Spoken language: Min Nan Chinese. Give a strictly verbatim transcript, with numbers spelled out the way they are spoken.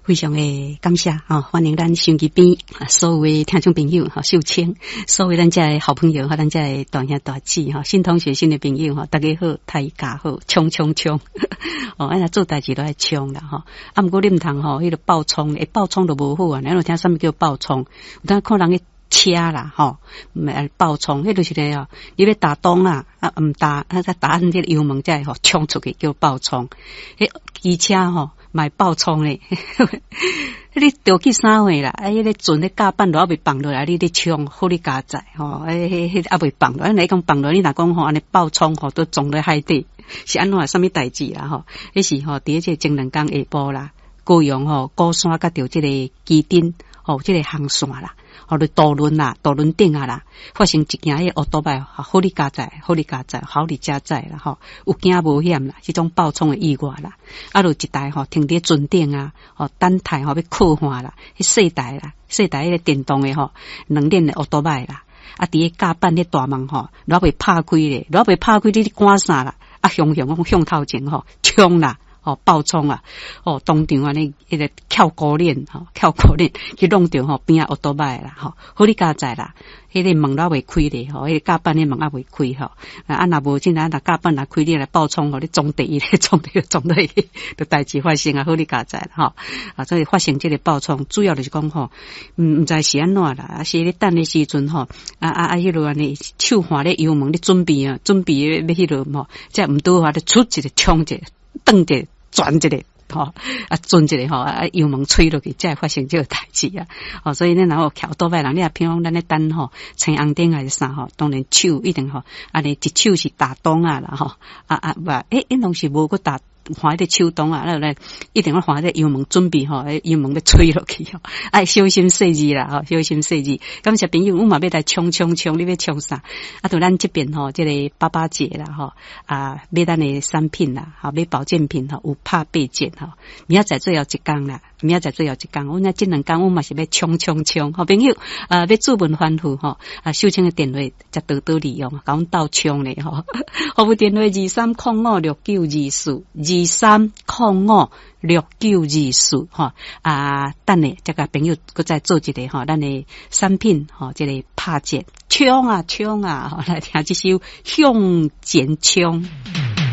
非常的感謝吼，歡迎咱收音機邊所有的聽眾朋友吼，秀清，所有咱遮的好朋友，和咱遮的大兄大姊吼，新同學新的朋友吼，大家好，大家好，衝衝衝！哦，按呢做代誌都愛衝啦吼。啊，毋過你毋通吼，彼個爆衝，會爆衝就無好啊。你有聽啥物叫爆衝？有當看人去車啦吼，毋爆衝，彼就是咧哦，你欲踏擋啊，啊毋踏，啊才踏按這個油門才會吼衝出去叫爆衝。彼機車吼嘛會爆衝咧，你著去啥貨啦？啊，彼個船咧甲板都猶未放落來，你咧衝，好你佳哉吼！彼彼彼猶未放落，按呢講放落，你若講吼按呢爆衝吼，都撞咧海底，是按怎啥物代誌啦吼？彼是吼佇這個前兩工下晡啦，高雄吼鼓山佮著這個旗津吼這個航線啦。吼，咧渡輪啦，渡輪頂啊啦，發生一件彼個烏多擺，好你佳哉，好你佳哉，好你佳哉啦吼，有驚無險啦，這種爆衝的意外啦，啊，就一台吼停佇船頂啊，吼等待吼欲靠岸啦，彼細台啦，細台彼個電動的吼，兩輪的烏多擺啦，啊，佇個甲板彼大門吼，犹未拍開咧，犹未拍開，你咧趕啥啦？啊，雄雄講向頭前吼衝啦！哦，爆衝啊！哦，當場按呢，彼個翹孤鏈吼，翹孤鏈去弄著吼邊仔烏多擺啦，吼，好你佳哉啦！彼個門猶未開咧，吼，彼個甲板的門猶未開吼，啊，若無真啊，若甲板若開，你來爆衝吼，你撞第一咧，撞第撞落去，就代誌發生啊！好你佳哉吼，啊，所以發生這個爆衝，主要就是講吼，毋毋知是按怎啦，啊，是咧等的時陣吼，啊啊啊，彼落按呢手按咧油門咧準備啊，準備欲彼落吼，才毋拄好咧出一個衝一個。轉一個轉一個吼，啊轉一個吼，啊油門吹落去，才會發生這個代誌啊！哦，所以咱若有騎多擺人，你若譬如講咱咧等吼，青紅燈還是啥吼，當然手一定吼，按呢一手是踏擋仔啦吼，啊啊無，欸，𪜶攏是無閣踏按彼個手擋仔，咱來一定要按彼個油門準備吼，油門欲吹落去吼，愛小心細膩啦吼，小心細膩。感謝朋友，阮嘛欲來衝衝衝，你欲衝啥？啊，就咱這邊吼，這個爸爸節啦吼，啊，買咱的產品啦，吼，買保健品吼，有拍八折吼。明仔載最後一工啦，明仔載最後一工，阮這兩工阮嘛是欲衝衝衝，好朋友啊，欲主問吩咐吼，啊，秀清的電話才多多利用，共阮鬥衝咧吼。服務電話二三空五六九二四二三空五六九二四吼啊，等下這個朋友閣再做一個吼，咱的產品吼，這個拍折衝啊衝啊，來聽這首向前衝。